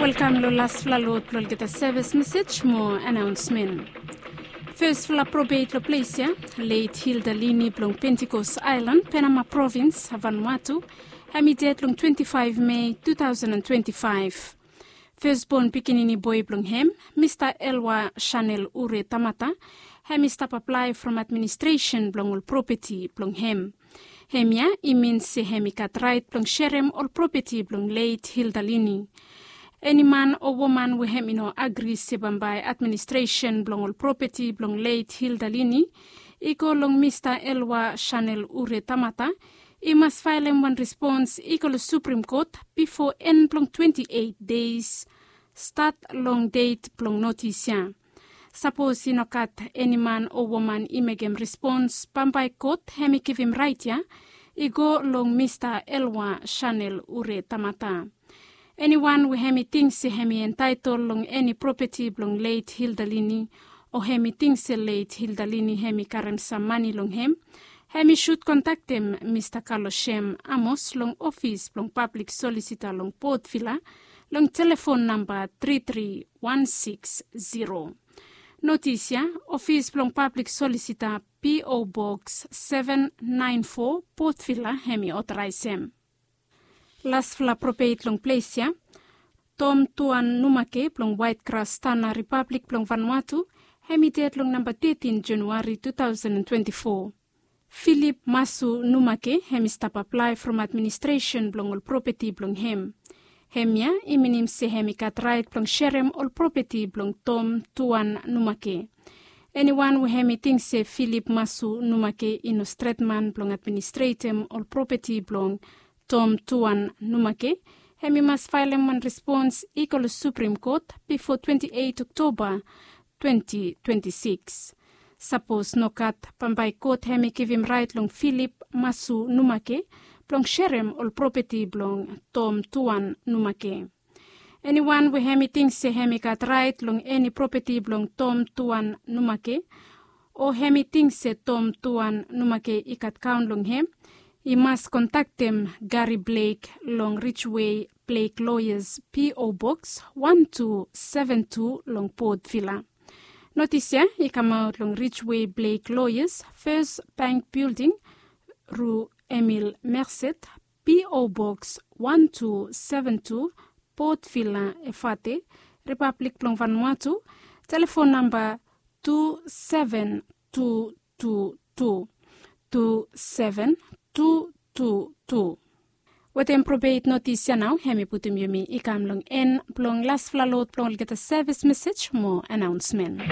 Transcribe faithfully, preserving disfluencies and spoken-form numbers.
Welkam long lasfala lot blong olgeta sevis mesej mo anaonsmen. Fesfala probeit long ples ya, leit Hilda Lini blong Pentikos Aelan, Penama Provins, Vanuatu, hem i ded long twenti faef Mei tu taosen twenti faef. Fesbon pikinini boe blong hem, Mista Elwa Chanel Ure Tamata, hem i stap aplae from administresen blong ol propeti blong hem. Hemia i min se hem i gat raet blong serem ol propeti blong leit Hilda Lini. Eni man o woman we hem i no agri se bambae administresen blong ol propeti blong leit Hilda Lini i go long Mista Elwa Chanel Ure Tamata, i mas faelem wan respons i go long Suprim Kot bifo en blong twenti eit deis stat long det blong notis ya. Sapos i no gat eni man o woman i mekem respons, bambae kot hem i givim raet ya i go long Mista Elwa Chanel Ure Tamata. Eniwan we hem i ting se hem i entaetol long eni propeti blong leit Hilda Lini, o hem i ting se leit Hilda Lini hem i karem sam mane long hem, hem i sud kontaktem Mista Kalosem Amos long ofis blong pablik solisita long Port Vila long telefon namba tri tri wan siks ziro. Notis ya, ofis blong pablik solisita, P O Boks seven naen fo, Port Vila, hem i otoraesem. Lasfala probeit long ples ya, Tom Tuan Numake blong Waet Gras Tana, Ripablik blong Vanuatu, hem i ded long namba tetin Januari tu taosen twenti fo. Filip Masu Numake hem i stap aplae from administresen blong ol propeti blong hem. Hemia i minim se hem i gat raet blong serem ol propeti blong Tom Tuan Numake. Eniwan we hem i ting se Filip Masu Numake i no stret man blong administretem ol propeti blong Tom Tuan Numake, hem i mas faelem wan respons i go long Suprim Kot bifo twenti eit Oktoba twenti twenti sikis. Sapos nogat, bambae kot hem i givim raet long Filip Masu Numake blong serem ol propeti blong Tom Tuan Numake. Eniwan we hem i ting se hem i gat raet long eni propeti blong Tom Tuan Numake, o hem i ting se Tom Tuan Numake i gat kaon long hem, i mas kontaktem Gari Blek long Ridgeway Blek Loyas, P O Boks wan tu seven tu long Port Vila. Notis ya i kamaot long Ridgeway Blek Loyas, Fes Bank Bilding, Ru Emil Merced, P O Boks wan tu seven tu, Port Vila, Efate, Ripablik blong Vanuatu, telefon namba tu seven tu tu tu, tu seven tu tu tu. Wetem probeit notis ya nao hem i putum yumi i kam long en blong lasfala lot blong olgeta sevis mesej mo anaonsmen.